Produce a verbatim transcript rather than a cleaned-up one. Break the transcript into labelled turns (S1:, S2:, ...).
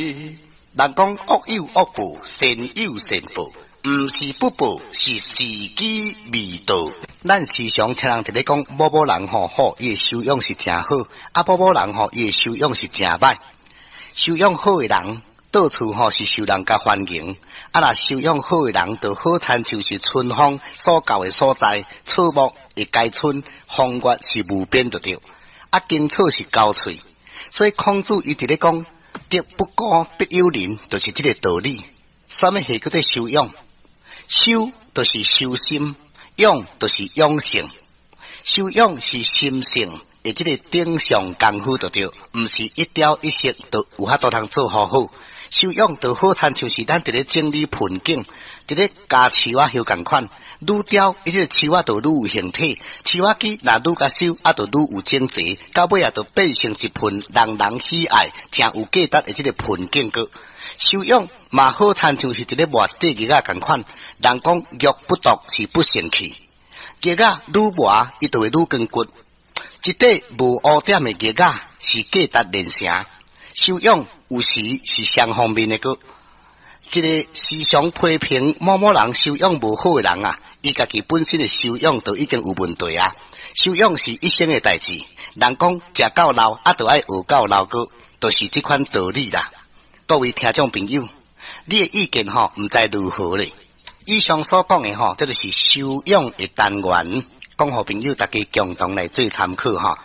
S1: 人講惡有惡報，善有善報，毋是不報，是時機未到。咱時常聽人佇咧講某某人吼好，伊的修養是誠好；啊，某某人吼，伊的修養是誠歹。修養好的人，到處吼是受人共歡迎；啊，若修養好的人，就好親像是春風所到的所在，草木會開春，風月是無邊就對。啊，經草是交喙，所以孔子伊佇咧講。德不孤，必有鄰，就是這個道理。啥物係叫做修養？修就是修心，養就是養性。修養是心性的這個頂上功夫就對，毋是一朝一夕就有法度通做好好。修養就好親像是咱佇咧整理盆景，佇咧加樹仔葉仝款，愈雕伊這個樹仔就愈有形體，樹仔枝若愈共修，啊，就愈有整齊，到尾啊，就變成一盆人人喜愛、誠有價值的這個盆景閣。修養嘛好親像是佇咧磨一塊玉仔仝款，人講玉不琢是不成器，玉仔愈磨伊就會愈光骨。一塊無污點的玉仔是價值連城。修養有時是雙方面的閣。一個時常批評某某人修養無好的人啊，伊家己本身的修養就已經有問題啊。修養是一生的代誌，人講食到老啊，就愛學到老閣，就是這款道理啦。各位聽眾朋友，你的意見吼，毋知如何咧？以上所講的吼，這就是修養的單元，講予朋友大家共同來做參考吼。